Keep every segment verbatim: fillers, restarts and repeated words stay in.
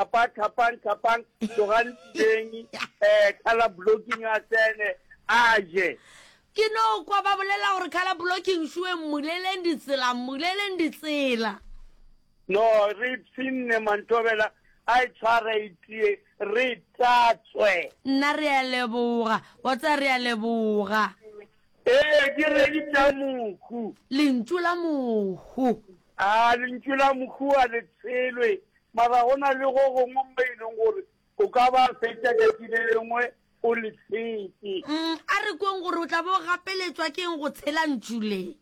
Thapa thapang thapang tlogang tseleng um colour blocking a tsene a je. Ke no kwa ba bolela gore colour blocking šoe mmuleleng ditsela mmuleleng ditsela. No re ipshinne Mantobela a e tshware e tie re tatswe. Nna re a leboga wa tseba re a leboga. Ee ke redi tša mohu. Lentšu la mohu. A lentšu la mohu a le tshelwe mara go na le go gongwe mo e leng gore o ka ba fetša tšatši le lengwe o le tshetše. Mm, a re kweng gore o tla bo gapeletšwa ke eng go tshela ntšu le.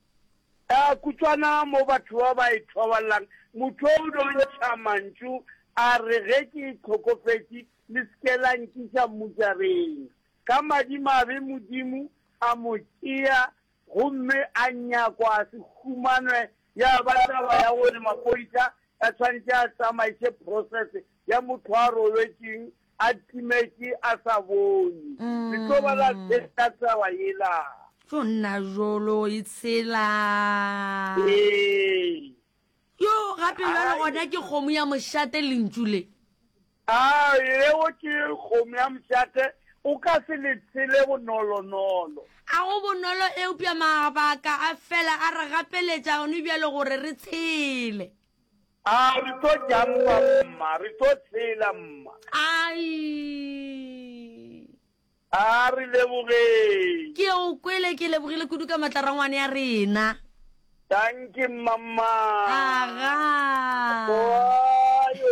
A kutswana mo batho ba ba e thoballang, motho o do ntšha mantšu a re ge ke hlokofetše le se ke la nkiša mmušareng. Ka madimabe Modimo a mo tšea gomme a nyakwa a se humanwe ya ba taba ya gore maphodisa a tshwanetše a tsamaiše process ya motho a robetšeng a timetše a sa bone. Le tlo ba la tshela taba yela. Tlo nna jolo e tshela. Ee. Yo gape bjalo gona ke kgomo ya mošate lentšu le. A yeo ke kgomo ya mošate o ka se le tshele bonolonolo. A go bonolo eupša mabaka a fela a re gapeletša gone bjalo gore re tshele. A re tlo jampa mma, re tlo tshela mma. Ai. A re lebogeng. Ke o kwele ke lebogile kudu ka matla rangwane ya rena. Dankie mama. Aga. Boayo.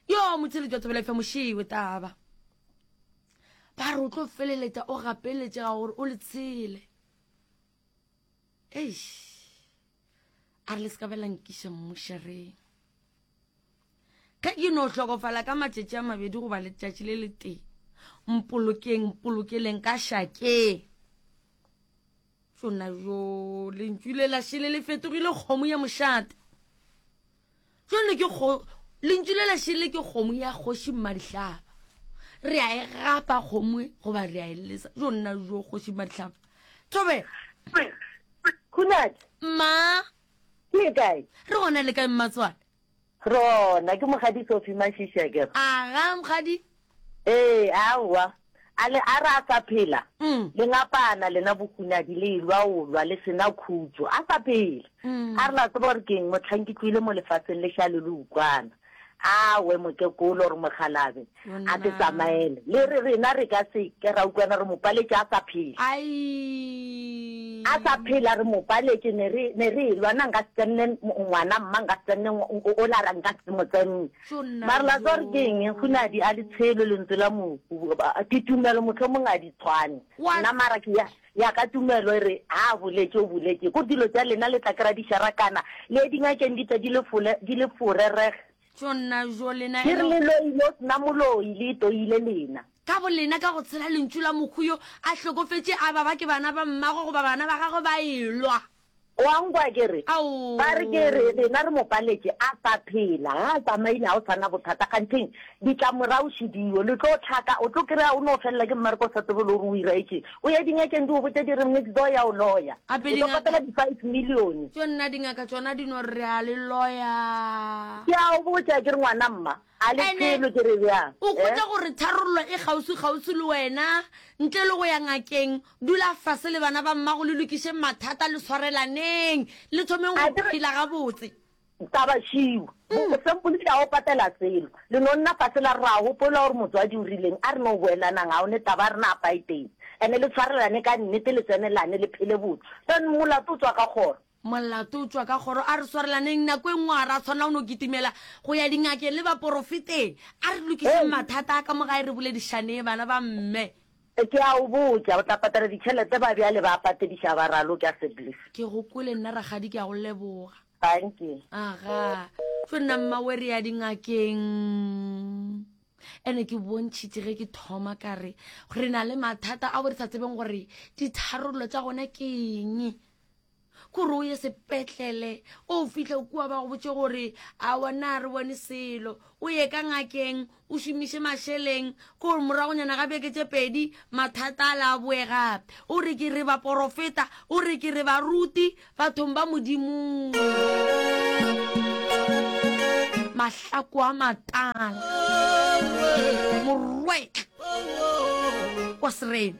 Yo motheletši wa Thobela F M mošewe taba. Ba re o tlo feleletša o gapeletšega gore o le tshele. Eish. A re le se ka bela nkiša mmušareng. Ge ke no hlokofala ka matšatši a mabedi goba letšatši le letee, mpolokeng, mpolokeleng ka šakeng. Tšona jo, lentšu le la šele le fetogile kgomo ya mošate. Tšone ke kgo, lentšu le la šele ke kgomo ya kgoši Mmadihlaba. Re a e gapa kgomo e, goba re a e lesa. Jo nna jo kgoši Mmadihlaba. Thobela. Khunadi. Mma. Ke kae? Re gona le kae mmatswale? Rona, ke mokgadi Sophie Mashisha ke re. Aga mokgadi. Ee, aowa. A le a re a sa phela? Mm. Le ngapana lena bohunadi le elwa o lwa le sena khutšo. A sa phela. Mm. A re la tseba gore keng mohlang ke tlohile mo lefaseng le šale le ukwana. Awe mokekolo gore mokgalabe a te tsamaele. Le re rena re ka se ke ra utlwana re mo paletše a sa phela. Ai. A sa phela re mo paletše ne re ne re elwa nna nka se tsenne ngwana mma nka se tsenne o la ra nka se mo tsenne. Mara la tseba gore ke eng Hunadi a le tshelwe lentswe la mohu ke tumelo mohlomong a di tshwane. Nna mara ke ya ya ka tumelo e re ha a boletše o boletše. Ko dilo tša lena le tla kry-a di šarakana le ye dingakeng di tle di le fole di le fore reg. Tšona jo lena Ke re le loile o sena moloi le itoile lena. Ka bolena ka go tshela lentšu la mohu yo a hlokofetše a ba ba ke bana ba mmagwe goba bana ba gagwe ba elwa. O a nkwa ke re? Ao. Ba re ke re rena re mo paletše a sa phela, ga a tsamaile ga o sa na bothata kgantheng ditlamorago šidio le tlo hlaka o tlo kry-a o no felela ke mmereko o sa tsebe le gore o iraetšeng o ye dingakeng di go botše di re next door ya o loya Gape o tlo dingaka patela di five million. Tšo nna dingaka tšona di no re re a le loya. Ke a o botša ke re ngwana mma a le Ene tshelo ke re bjang o eh? hwetša gore tharollo e kgauswi-kgauswi le wena ntle le go ya ngakeng dula fase le bana ba mmago le lokišeng mathata le swarelaneng le thomeng A go ke re phela gabotse. Taba šiu. Mm. Sempole ke a o patela selo. Le no nna fase la re ra gopola gore motswadi o rileng a re no boelanang ga o ne taba a rena a paeteng. Ene le tshwarelane ka nnete le tsenelane le phele botse. Then molato o tswa ka kgoro. Molato o tšwa ka kgoro a re swarelaneng nako e nngwe ga ra tshwanela go no kitimela go ya dingakeng le baporofeteng. A re lokišeng Hey. mathata a ka mo gae re boledišaneng bana ba mme. Ke a o botša, o tla patela ditšhelete ba bjale ba patediša ba raloke a Sebliss. Ke go kwele nna rakgadi ke a go leboga. Thank you. Aga, tšo nna mmawe re ya dingakeng. Ene ke bontšhitše ge ke thoma ka re re na le mathata ao re sa tsebeng gore ditharollo tša gona ke eng. Kore o ye sepetlele o fihle kua ba go botše gore aowa na re bone selo o ye ka ngakeng o šomiše mašeleng kore moragonyana ga beke tše pedi mathata a la boe gape o re ke re baporofeta o re ke re baruti bathong ba Modimo. Mahlako a matala. Morwetla wa Serena.